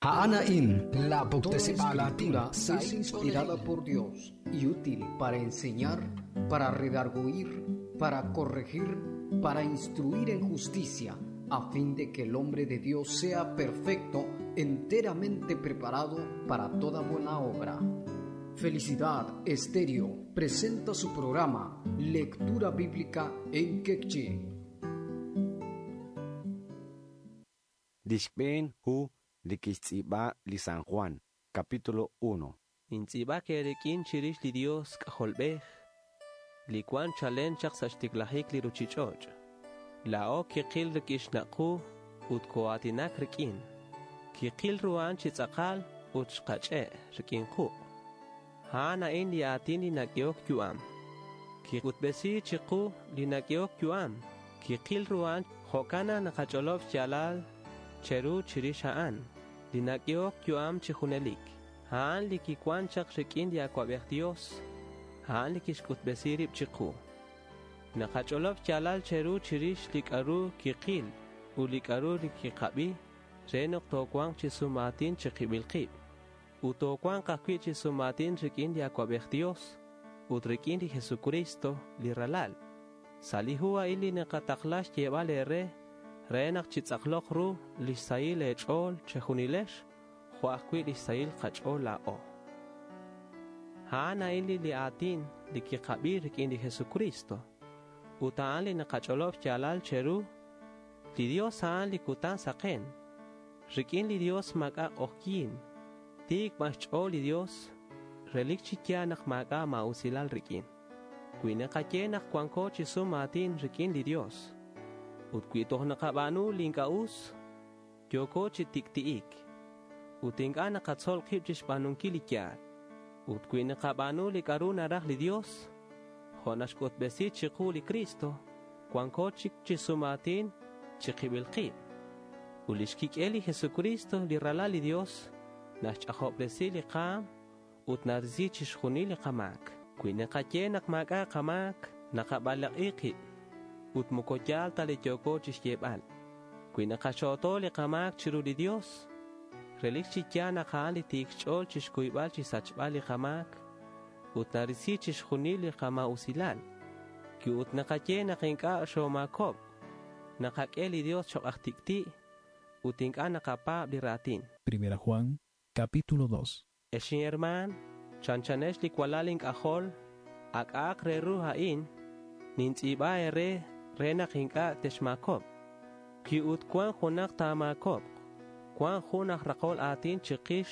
A'an a'in la Toda puktesib'aal aatin escritura sa' es inspirada por Dios y útil para enseñar, para redarguir, para corregir, para instruir en justicia, a fin de que el hombre de Dios sea perfecto, enteramente preparado para toda buena obra. Felicidad Estéreo presenta su programa Lectura Bíblica en Quechí. Li xb'een hu li kixtz'iib'a li San Juan, capítulo 1. Nintz'iib'ak eerik'in chirix li Dios k'ajolb'ej, li wan chalen chaq sa' xtiklajik li ruchich'och'. Laa'o kiqil rik'in xnaq'u ut koo'aatinak rik'in. Kiqil ru a'an chi tz'aqal ut xqach'e' rik'in quq'. A'an a'in li aatin li nak'ehok yu'am. Kik'utb'esi chiqu li nak'ehok yu'am. Kiqil ru a'an jo'kan naq naqach'olob' xyaalal cheru chirix a'an, li nak'ehok yu'am chi junelik. A'an li kiwan chaq rik'in li Awab'ej Dios, a'an li kixk'utb'esi rib' chiqu. Naqach'olob' xyaalal cheru chirix li k'a'ru kiqil ut li k'a'ru li kiqab'i re naq toowanq chi sumaatin chiqib'il qib'. Ut toowanq ajwi' chi sumaatin rik'in li Awab'ej Dios ut rik'in li Jesucristo, li Ralal. Sa' li hu a'in li naqataqla xyeeb'al eere re naq chitz'aqloq ru lix sahil eech'ool chejunilex jo' ajwi' lix sahil qach'ool laa'o. A'an a'in li aatin li kiqab'i rik'in li Jesucristo ut a'an li naqach'olob' xyaalal cheru. Li Dios a'an li kutan saqen. Rik'in li Dios maak'a' q'ojyin. Tiik b'an xch'ool li Dios, relik chi yaal naq maak'a' maa'usilal rik'in. Wi naqaye naq wanko chi sum aatin rik'in li Dios, ut wi toj naqab'aanu li ink'a' us, yooko chi tik'ti'ik, ut ink'a' naqatzol qib' chixb'aanunkil li yaal. Ut wi naqab'aanu li k'a'ru naraj li Dios, jo' naxk'utb'esi chiqu li Cristo, wanko chik chi sum aatin chiqib'il qib'. Ut lix kik'el li Jesucristo, li Ralal li Dios, naxch'ajob'resi li qaam ut narisi chixjunil li qamaak. Wi naqaye naq maak'a' qamaak, naqab'alaq'i qib' ut moko yaal ta li yooko chixyeeb'al. Wi naqaxo'to li qamaak chiru li Dios, relik chi yaal naq a'an li tiik xch'ool chixkuyb'al chisachb'al li qamaak ut narisi chixjunil li qama'usilal. Wi ut naqaye naq ink'a' xoomaakob'k, naqak'e li Dios choq' aj tik'ti' ut ink'a' naqapaab' li raatin. Primera Juan, capítulo 2. Ex inherman, chanchanex li walal ink'ajol, ak'a'aq re ru a'in, nintz'iib'a eere re naq ink'a' texmaakob'q. Wi ut cuan junaq taamaakob'q, cuan jun aj raqol aatin chiqix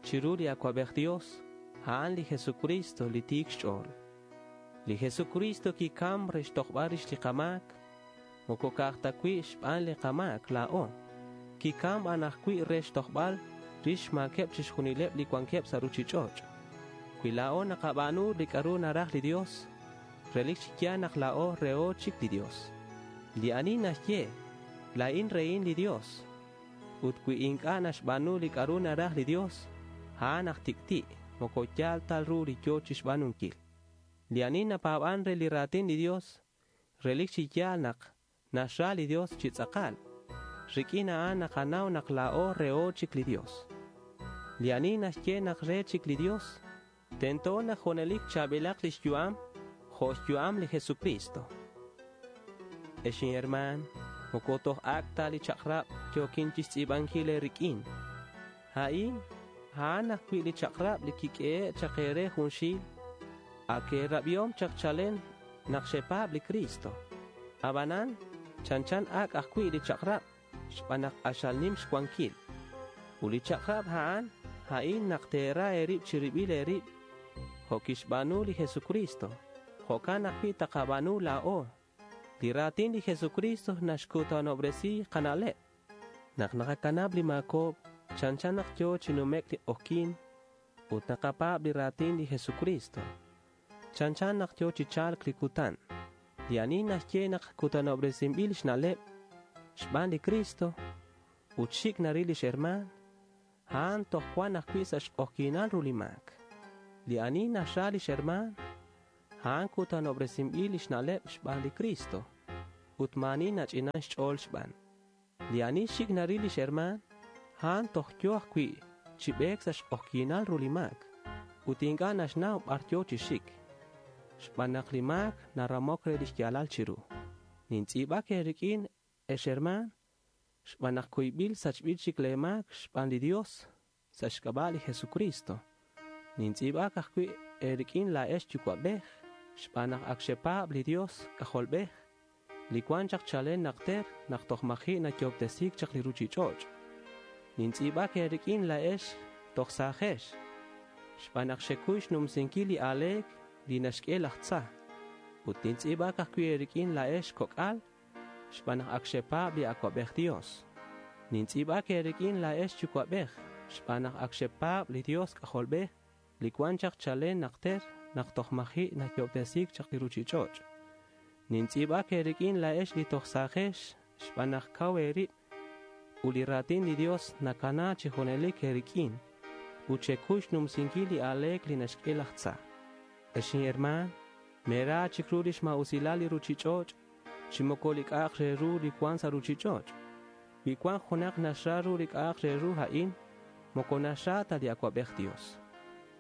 chiru li Awab'ej Dios, a'an li Jesucristo li tiik xch'ool. Li Jesucristo kikam re xtojb'al rix li qamaak, moko ka'aj ta wi' xb'aan li qamaak laa'o. Kikam b'an ajwi' re xtojb'al rix xmaakeb' chixjunileb' li wankeb' sa' ruchich'och'. Wi laa'o naqab'aanu li k'a'ru naraj li Dios, relik chi yaal naq laa'o reho chik li Dios. Li ani naxye, laa'in rehin li Dios. Ut wi ink'a' naxb'aanu li k'a'ru naraj li Dios, a'an aj tik'ti', moko yaal ta ru li yo chixb'aanunkil. Li ani napaab'an re li raatin li Dios, relik chi yaal naq naxra li Dios chi tz'aqal. Rik'in a'an naqanaw naq laa'o reho chik li Dios. Li ani naxye naq re chik li Dios, tento naq junelik chaab'ilaq lix yu'am jo' xyu'am li Jesucristo. Ex inherman, moko toj ak' ta li chaq'rab' yokin chixtz'iib'ankil eerik'in. A'in, a'an ajwi' li chaq'rab' li kik'ehe' chaq eere junxil, ak eerab'ihom chaq chalen naq xepaab' li Cristo. Ab'anan, chanchan ak' ajwi' li chaq'rab' xb'aan naq q'axal nim xwankil. Ut li chaq'rab' a'an, a'in naq teera eerib' chirib'il eerib' jo' kixb'aanu li Jesucristo. Jo'kan ajwi' taqab'aanu laa'o. Li raatin li Jesucristo naxkutanob'resi qana'leb'. Naq naqakanab' li maakob'k, chanchan naq yo chi numek li q'ojyin ut naqapaab' li raatin li Jesucristo. Chanchan naq yo chi chalk li kutan. Li ani naxye naq kutanob'resinb'il xna'leb' xb'aan li Cristo ut xik' naril lix herman, a'an toj cuan ajwi' sa' xq'ojyinal ru li maak. Li ani naxra lix herman, a'an kutanob'resinb'il lix na'leb' xb'aan li Cristo ut maani nach'inan xch'ool xb'aan. Li ani xik' naril lix herman, a'an toj yo ajwi' chi b'eek sa' xq'ojyinal ru li maak ut ink'a' naxnaw b'ar yo chi xik, xb'aan naq li maak naramok re lix yaalal chiru. Nintz'iib'ak eerik'in, ex hermaan, xb'aan naq kuyb'il sachb'il chik lee maak xb'aan li Dios sa' xk'ab'a' li Jesucristo. Nintz'iib'ak ajwi' eerik'in laa'ex yuwa'b'ej, xb'aan naq ak xepaab' li Dios k'ajolb'ej, li wan chaq chalen naqter naq toj maji' nayoob'tesiik chaq li ruchich'och'. Nintz'iib'ak eerik'in laa'ex toj saajex, xb'aan naq xekuy xnumsinkil li aaleek li naxk'e laj tza. Ut nintz'iib'ak ajwi' eerik'in laa'ex kok'al, xb'aan naq ak xepaab' li awa'b'ej Dios. Nintz'iib'ak eerik'in laa'ex yuwa'b'ej, xb'aan naq ak xepaab' li Dios k'ajolb'ej, li wan chaq chalen naqter naq toj maji' nayoob'tesiik chaq li ruchich'och'. Nintz'iib'ak eerik'in laa'ex li toj saajex, xb'aan naq kaw eerib' ut li raatin li Dios nakana chi junelik eerik'in ut xekuy xnumsinkil li aaleek li naxk'e laj tza. Ex inhermaan, meera chik ru lix maa'usilal li ruchich'och' chi moko li k'a'aq re ru li wan sa' ruchich'och'. Wi wan junaq naxra ru li k'a'aq re ru a'in, moko naxra ta li awa'b'ej Dios.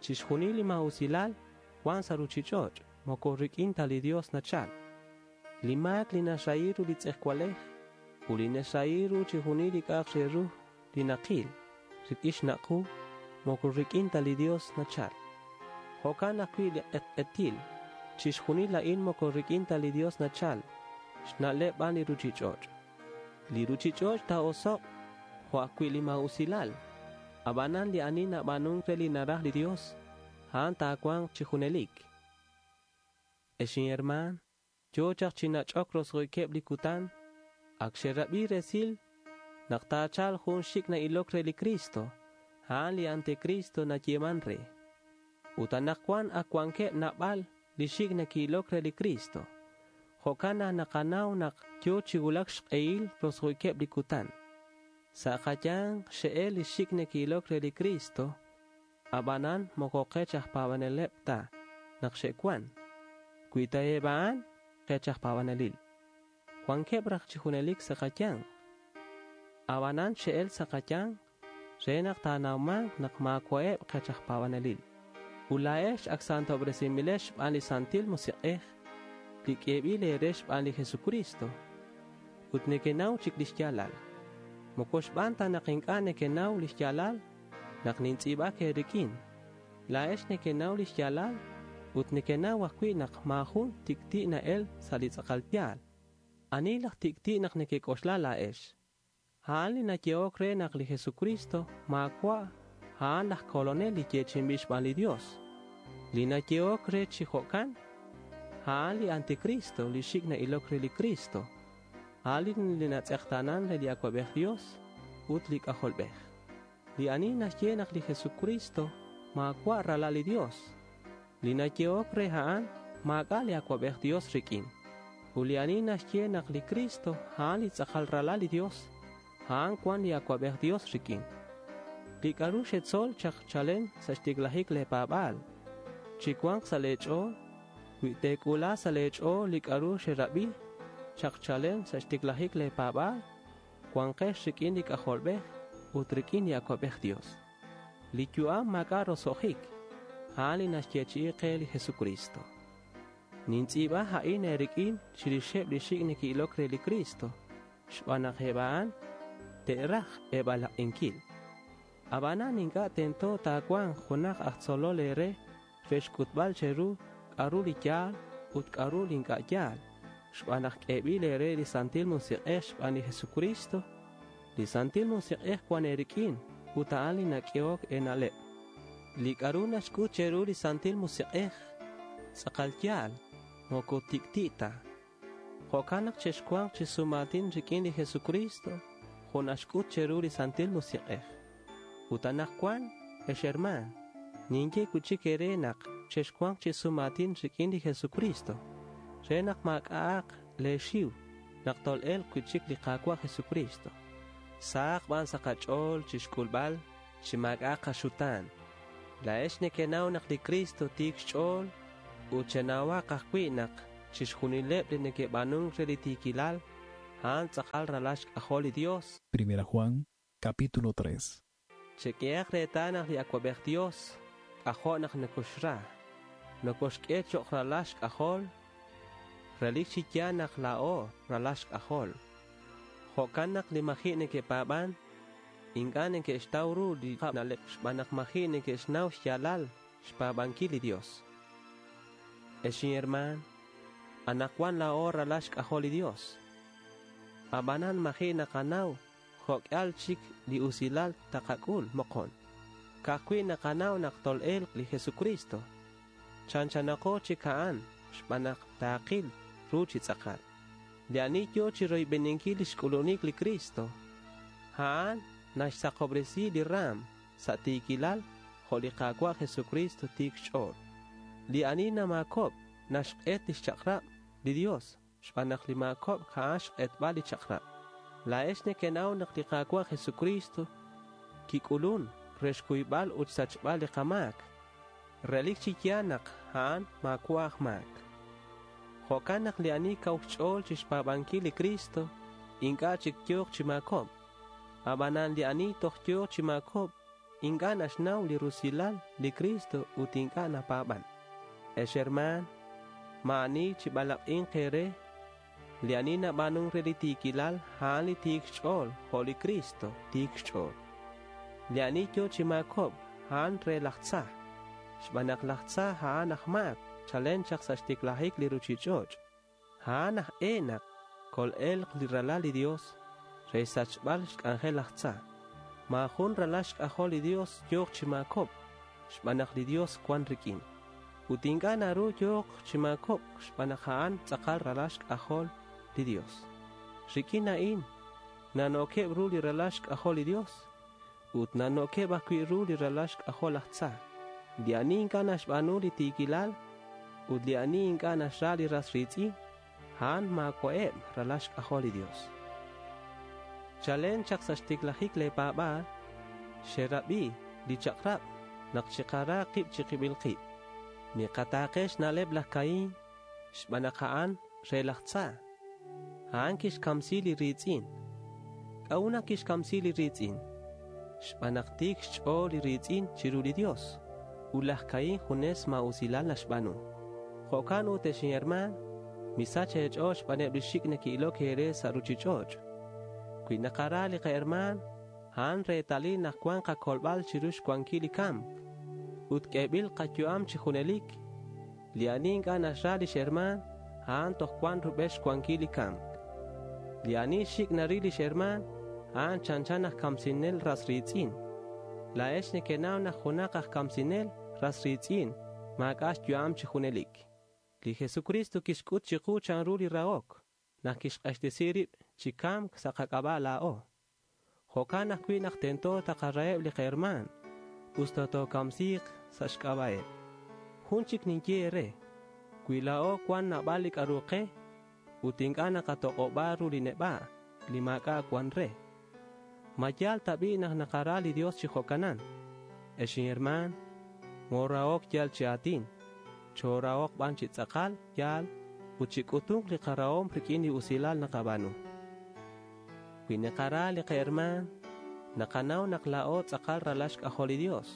Chixjunil li maa'usilal wan sa' ruchich'och' moko rik'in ta li Dios nachal. Li maak li naxrahi ru li tz'ejwalej ut li naxrahi ru chixjunil li k'a'aq re ru li naqil rik'in xnaq' qu moko rik'in ta li Dios nachal. Jo'kan ajwi' li q'etq'etil, chixjunil a'in moko rik'in ta li Dios nachal, xna'leb' b'an li ruchich'och'. Li ruchich'och' taa'oso'q jo' ajwi' li maa'usilal. Ab'anan li ani nab'aanunk re li naraj li Dios, a'an taawanq chi junelik. Ex inhermaan, yo chaq chi nach'ok roso'jikeb' li kutan, ak xerab'i resil naq taachalq jun xik' na'ilok re li Cristo, a'an li anticristo nayeeman re. Ut anaqwan ak wankeb' naab'al li xik' neke'ilok re li Cristo. Jo'kan naq naqanaw naq yo chi wulak xq'ehil roso'jikeb' li kutan. Sa' qayanq xe'el li xik' neke'ilok re li Cristo, ab'anan moko qech aj paab'aneleb' ta naq xe'wan. Wi ta eb' a'an qech aj paab'anelil, wankeb' raj chi junelik sa' qayanq. Ab'anan xe'el sa' qayanq re naq taanawmanq naq maawa'eb' qech aj paab'anelil. Ut laa'ex ak santob'resinb'ilex xb'aan li Santil Musiq'ej li k'eeb'il eere xb'aan li Jesucristo ut nekenaw chik lix yaalal. Moko xb'aan ta naq ink'a' nekenaw lix yaalal naq nintz'iib'ak eerik'in. Laa'ex nekenaw lix yaalal ut nekenaw ajwi' naq maajun tik'ti' na'el sa' li tz'aqal yaal. Ani laj tik'ti' naq nekek'oxla laa'ex? A'an li nayehok re naq li Jesucristo maawa' a'an laj kolonel li yeechi'inb'il xb'aan li Dios. Li nayehok re chi jo'kan, a'an li anticristo li xik' na'ilok re li Cristo. A'an li natz'eqtanan re li awa'b'ej Dios ut li k'ajolb'ej. Li ani naxye naq li Jesucristo maawa' ralal li Dios. Li nayehok re a'an maak'a' li awa'b'ej Dios rik'in. Ut li ani naxye naq li Cristo a'an li tz'aqal ralal li Dios, a'an wan li awa'b'ej Dios rik'in. Li k'a'ru xetzol chaq chalen sa' xtiklajik lee paab'aal. Chi wanq sa' lee ch'ool, wi teek'ula sa' lee ch'ool li k'a'ru xerab'i chaq chalen sa' xtiklajik lee paab'aal, wanqex rik'in li k'ajolb'ej ut rik'in li awa'b'ej Dios. Li yu'am maak'a' roso'jik, a'an li naxyeechi'i qe li Jesucristo. Nintz'iib'a a'in eerik'in chirixeb' li xik' neke'ilok re li Cristo, xb'aan naq eb' a'an te'raj eeb'alaq'inkil. Ab'anan ink'a' tento taawanq junaq aj tzolol eere re xk'utb'al cheru k'a'ru li yaal ut k'a'ru li ink'a' yaal, xb'aan naq k'eeb'il eere li Santil Musiq'ej xb'aan li Jesucristo. Li Santil Musiq'ej wan eerik'in ut a'an li nak'ehok eena'leb'. Li k'a'ru naxk'ut cheru li Santil Musiq'ej tz'aqal yaal, moko tik'ti' ta. Jo'kan naq chexwanq chi sumaatin rik'in li Jesucristo jo' naxk'ut cheru li Santil Musiq'ej. Ut anaqwan, ex hermaan, ninye cuichic eere naq chexwanq chi sumaatin rik'in li Jesucristo re naq maak'a'aq lee xiw naq tol'elq cuichic li Qaawa' Jesucristo. Sahaq b'an sa' qach'ool chixk'ulb'al chi maak'a'aq qaxutaan. Laa'ex nekenaw naq li Cristo tiik xch'ool ut chenawaq ajwi' naq chixjunileb' li neke'b'aanunk re li tiikilal, a'an tz'aqal ralal xk'ajol li Dios. Primera Juan, capítulo 3. Cheq'uehak retal nak li Awab'ej Dios k'ajo' nak nokoxra, nokoxk'e cho'q ralal xk'ajol, relik chi yaal nak laa'o ralal xk'ajol. Jo'kan nak li maji' neke'paab'an, ink'a' neke'xtaw ru li na'leb' xb'aan naq maji' neke'xnaw xyaalal xpaab'ankil li Dios. Ex inherman, anaqwan laa'o ralal xk'ajol li Dios. Ab'anan maji' naqanaw jo'k'al chik li usilal taqak'ul moqon. Ka'ajwi' naqanaw naq tol'elq li Jesucristo. Chanchanaqo chik a'an xb'aan naq taaqil ru chi tz'aqal. Li ani yo chi royb'eninkil lix k'ulunik li Cristo. A'an naxsaqobresi li raam sa' tiikilal jo' li Qaawa' Jesucristo tiik xch'ool. Li ani namakob' naxq'et lix chaq'rab' li Dios xb'aan naq li maakob' a'an xq'etb'al li chaq'rab'. Laa'ex nekenaw naq li Qaawa' Jesucristo kik'ulun re xkuyb'al ut xsachb'al li qamaak. Relik chi yaal naq a'an maawa' aj maak. Jo'kan naq li ani kaw xch'ool chixpaab'ankil li Cristo ink'a' chik yooq chi maakob'. Ab'anan li ani toj yooq chi maakob' ink'a' naxnaw li rusilal li Cristo ut ink'a' napaab'an. Ex hermaan, maa'ani chi b'alaq'inq eere. Li ani nab'aanunk re li tiikilal a'an li tiik xch'ool jo' li Cristo tiik xch'ool. Li ani yo chi maakob' a'an re laj tza, xb'aan naq laj tza a'an aj maak chalen chaq sa' xtiklajik li ruchich'och'. A'an aj e naq kol'elq li ralal li Dios re xsachb'al xk'anjel laj tza. Maajun ralal xk'ajol li Dios yooq chi maakob' xb'aan naq li Dios wan rik'in. Ut ink'a' naru yooq chi maakob' xb'aan naq a'an tz'aqal ralal xk'ajol li Dios. Rik'in a'in nanookeb' ru li ralal xk'ajol li Dios ut nanookeb' ajwi' ru li ralal xk'ajol laj tza. Li ani ink'a' naxb'aanu li tiikilal ut li ani ink'a' naxra li ras riitz'in, a'an maawa'eb' ralal xk'ajol li Dios. Chalen chaq sa' xtiklajik lee paab'aal, xerab'i li chaq'rab' naq chiqara qib' chiqib'il qib'. Miqataaqe xna'leb' laj Caín xb'aan naq a'an re laj tza. A'an kixkamsi li riitz'in. K'a'ut naq kixkamsi li riitz'in? Xb'aan naq tiik xch'ool li riitz'in chiru li Dios. Ut laj Caín junes maa'usilal naxb'aanu. Jo'kan ut ex inherman, misach eech'ool xb'aaneb' li xik' neke'ilok eere sa' ruchich'och'. Wi naqara li qaherman, a'an reetalil naq wan qakolb'al chiru xwankil li kamk. Ut k'eeb'il qayu'am chi junelik. Li ani ink'a' naxra lix herman, a'an toj wan rub'el xwankil li kamk. Li ani xik' naril lix herman, a'an chanchan aj kamsinel ras riitz'in. Laa'ex nekenaw naq junaq aj kamsinel ras riitz'in maak'a' xyu'am chi junelik. Li Jesucristo kixk'ut chiqu chanru li rahok naq kixq'axtesi rib' chi kamk sa' qak'ab'a' laa'o. Jo'kan ajwi' naq tento taqaraheb' li qaherman usta tookamsiiq sa' xk'ab'a'eb'. Jun chik ninye eere, wi laa'o wan naab'al li k'a'ru qe ut ink'a' naqatoq'ob'a ru li neb'a' li maak'a' wan re. Ma yaal tab'i' naq naqara li Dios chi jo'kanan. Ex inherman, moorahok yal chi aatin, choorahok b'an chi tz'aqal yaal ut chi k'utunk li qarahom rik'in li usilal naqab'aanu. Wi naqara li qaherman, naqanaw naq laa'o tz'aqal ralal xk'ajol li Dios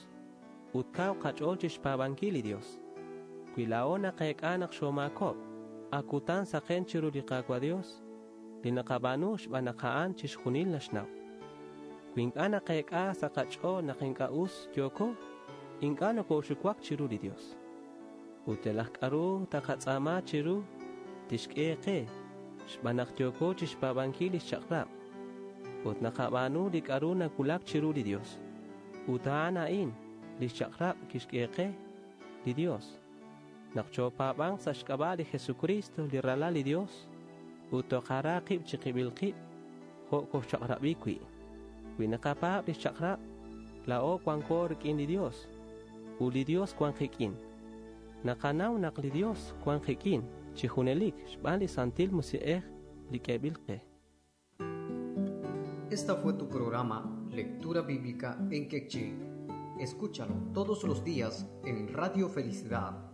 ut kaw qach'ool chixpaab'ankil li Dios. Wi laa'o naqeek'a naq xoomaakok', akutan saqen chiru li Qaawa' Dios, li naqab'aanu xb'aan naq a'an chixjunil naxnaw. Wi ink'a' naqeek'a sa' qach'ool naq ink'a' us yooko, ink'a' nokoxuwak chiru li Dios. Ut yalaq k'a'ru taqatz'aama chiru tixk'e qe xb'aan naq yooko chixpaab'ankil lix chaq'rab'. Ut naqab'aanu li k'a'ru nawulak chiru li Dios. Ut a'an a'in lix chaq'rab' kixk'e qe li Dios. Naq choopaab'anq sa' xk'ab'a' li Jesucristo li ralal li Dios ut toqara qib' chiqib'il qib' jo' koxchaq'rab'i wi'. Wi naqapaab' lix chaq'rab', laa'o wanko rik'in li Dios ut li Dios wan qik'in. Naqanaw naq li Dios wan qik'in chi junelik xb'aan li Santil Musiq'ej li k'eeb'il qe. Esta fue tu programa Lectura Bíblica en Quechí. Escúchalo todos los días en Radio Felicidad.